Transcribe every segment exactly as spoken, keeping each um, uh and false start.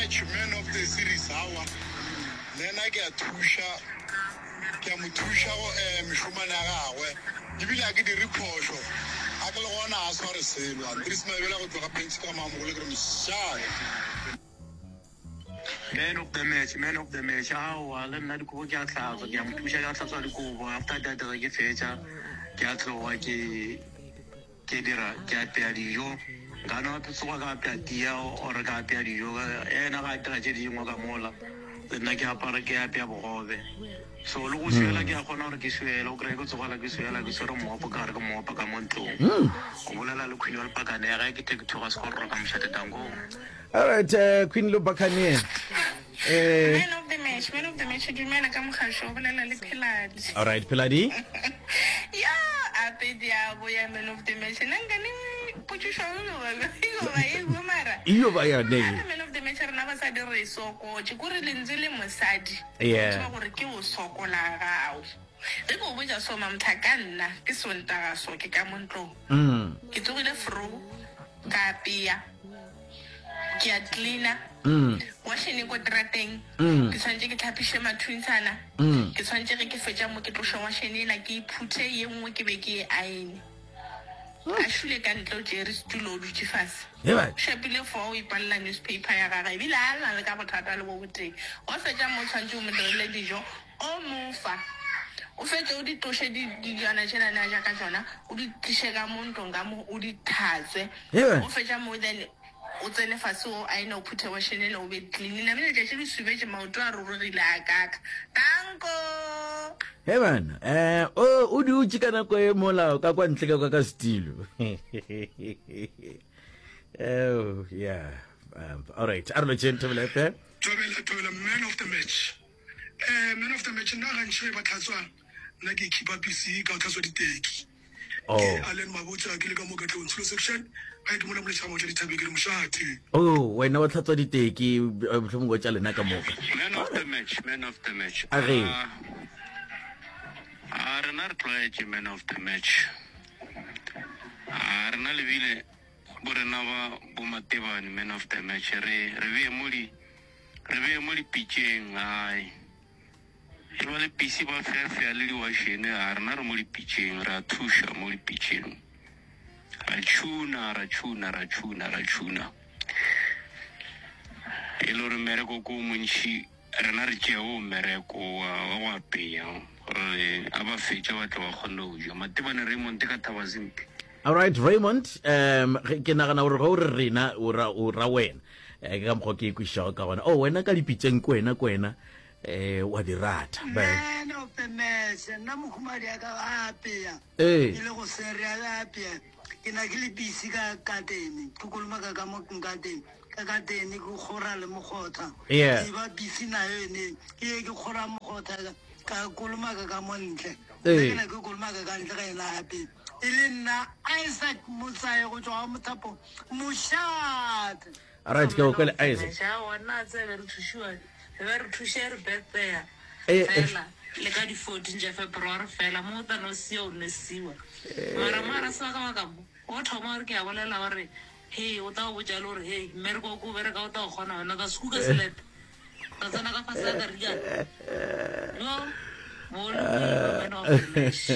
match, man of the series, awa. Le nna ke a thuša, ke a mo thuša go eh, mešomane ya gagwe. Ebile a ke dire phošo. A ke le gona a sware selo. Andries Mabela go tloga Pentsi ka Mamogolo ke re mošate. Man of the match, man of the match. Aowa, le nna dikobo ke a hlatswa, ke a mo thuša ke a hlatswa dikobo. After that ge ke fetša ke a tloga ke ke dira ke apea dijo. Nka no tsoga ka apea tia or ka apea dijo. Yena ga a dira tše dingwe ka mola. Le nna ke apara ke apea bogobe. So le go swiela ke a kgona gore ke swiele, o kry-e ke tsogela ke swiela ke swere mmopo ka gare ke mopa ka mo ntlong. O bolela le Queen wa Lepakane ge ke tle ke thoga sekororo ka mošate danko. All right, uh, Queen Lobakane. Eh, Man of the match, man of the match, dumela ka mogasho, o bolela le Pheladi. all right, Pheladi. Ya, ape dia boya man of the match. Nna nkane potšišo e ba e go mara. Iyo ba yone. Gape man of the match rena basadi re sokotše kore lentswe le mosadi. Yeah. O tseba gore ke o sokola gago. Ge ke o botša so mamtha ka nna ke Sontaga so ke ka mo ntlong. Mm. Ke tsogile fro ka apea. Ke a cleaner. Mm. Washene ko terateng. Mm. Ke tshwanetse ke tlhapiše mathuntshana. Mm. Ke tshwanetse ge ke fetša mo ke tloše washene ela ke iphuthe ye nngwe ke be ke e aene. A šule ka ntle o tšere setulo o dutše fase. Ye ba. O šapile fo o ipalela newspaper ya gagwe ebile a na le ka bothata le bo botee. Wa fetša mo o tshwanetse o mo direle dijo o mo fa. O fetše o di tloše di dijana tšela ne a ja ka tšona o di tliše ka mo ntlong ka mo o di tlhatswe. Ye ba. O fetša mo then o tsene fase o aene o phuthe washene ele o be clean. Namile letšatši le subetše maoto a rurugile a kaka. Danko! He bana, eh o o dutše ka nako e mola ka kwa ntle ka kwa ka setilo. Oh, yeah. Um, all right, a re lotšheng Thobela F M. Thobela, Thobela, man of the match. Eh, man of the match, nna gantši ge ba tlhatswa, nna ke keepa busy ka go tlhatswa diteki. Oh. Ke Allen Mabotja, ke le ka mo Katlehong Tsholo section. Ga ke mola moletša motla dithabeng ke re mošate. Oh, wena wa tlhatswa diteki, eh, mohlomongwe tša lena ka moka. Man of the match, man of the match. A ge. Ah, ah, rena re tlwaetše man of the match. Ah, rena lebile bo rena ba bo Matebane man of the match. Re re beye mo di re beye mo dipitšeng ai. E ba le pisi ba feafea le diwašene, a rena re mo dipitšeng, re a thuša mo dipitšeng. Ra tšhuna, ra tšhuna, ra tšhuna, ra tšhuna. E le gore mmereko ko o montši, rena re tšea o mmereko wa wa go apea gore a ba fetša ba tle ba kgone go ja. Matebane Raymond ka Thabazimbi. All right, Raymond, um ge- ke nagana gore ge o re rena o ra o ra wena. Eh, ke ka mokgwa ke e kwešišago ka gona. Oh, wena ka dipitšeng ke wena ke wena eh wa di rata. Ba- Man of the match, nna mohumadi ya ka a apea. Ee. Ke le go sere a apea. Ke na ke le busy ka katene, ke kolomaka ka mo nkatene. Ka katene ke kgora le mokgotha. Yeah. Ke ba busy nayo ene. Ke ye ke kgora mokgotha ka kolomaka ka mo ntle. Ee. Ke na ke kolomaka ka ntle ga ena apea. E le nna Isaac Motsae go tšwa ga Mothapo mošate. All right, ke go kwele Isaac. Aowa, nna a tsebe re thušiwa, re be re thuše re birthday Eh, eh. fela le ka di fourteen tša February fela mo o tla no sia o nesiwa. Mara mara sebaka baka mo o thoma gore ke a bolela gore he o tla go botša le gore he mmereko o ko o bereka o tla go kgona wena o tla sekuka selepe ka tsena ka fase ka karikana. No, mo le man of the match.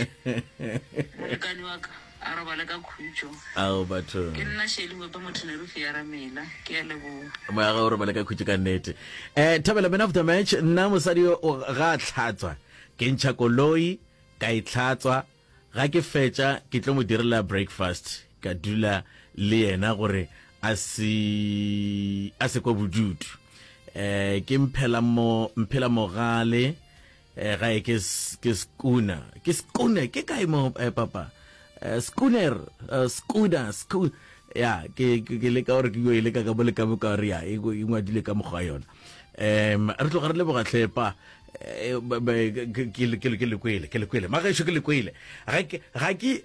Molekane wa ka a robale ka khutšo. Ao batho. Ke nna Shelley Moepa Mothonerufi ya Ramela. Ke a leboga. Moya ga o robale ka khutšo ka nnete. Eh Thabela man of the match, nna mosadi yo o ga a tlhatswa. Ke ntšha koloi ka e tlhatswa, ga ke fetša ke tlo mo direla breakfast ka dula le yena gore a se a se kwa bodutu. Eh ke mphela mo mphela mogale eh ga e ke s- ke skuna. Ke skune ke kae mo eh, papa? Eh, schooner, eh, schooner, sco ya ke ke ke leka gore ke yo e leka ka mo le ka mo ka gore ya e e ngwadile ka mokgwa wa yona. Um re tloga re leboga tlhepa eh, ba- ba- ke ke ke ke le kwele ke le kwele magešo ke le kwele ga ke ga ke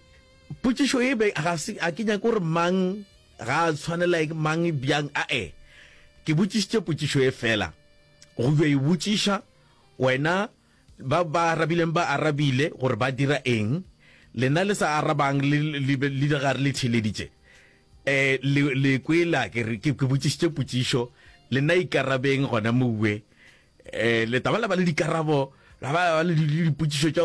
potšišo e be ga se a ke nyake gore mang ga a tshwanela ke mang bjang a e ke botšišitše potšišo e fela go yo e botšiša wena ba ba arabileng ba arabile gore ba dira eng lena le sa arabang le le le le gare le theleditše eh le le kwela ke re ke ke botšišitše potšišo Le nna ikarabeng gona mowe. Eh, le taba la ba le dikarabo, la ba la ba le dipotšišo tša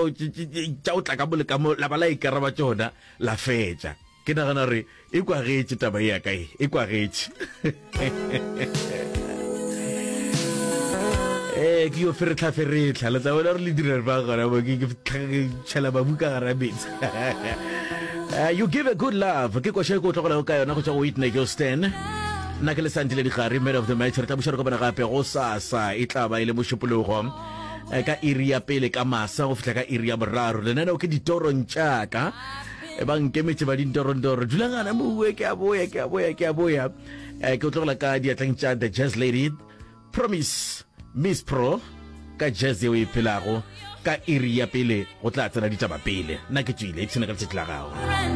tša o tla ka mo le ka mo, la ba la ikaraba tšona, la fetša. Ke nagana gore e kwagetše taba ye ya ka e, e kwagetše. Ee, ke yo feretlha-feretlha, le tla bona gore le dira ba gona mo, ke tšhela mabu ka gara metsi. Uh, you give a good love ke koša e ko tlogelago ka yona go tšwa go Whitney Houston. Nna ke le Sandile Digari, man of the match. Re tla buša re kopana gape go sasa, e tla ba e le mošupologo eh, ka iri ya pele ka masa go fihla ka iri ya boraro. Lenaneo ke ditorong tša ka. E ba nkemetše ba dintorondoro. Dulang gana mowe, ke a boya, ke a boya, ke a boya. Eh, ke o tlogela ka diatleng tša The Jazz Lady Promise Miss Pro ka jazz yeo e phelago ka iri ya pele go tla tsena ditaba pele. Nna ke tšwile, ipshina ka letšatši la gago.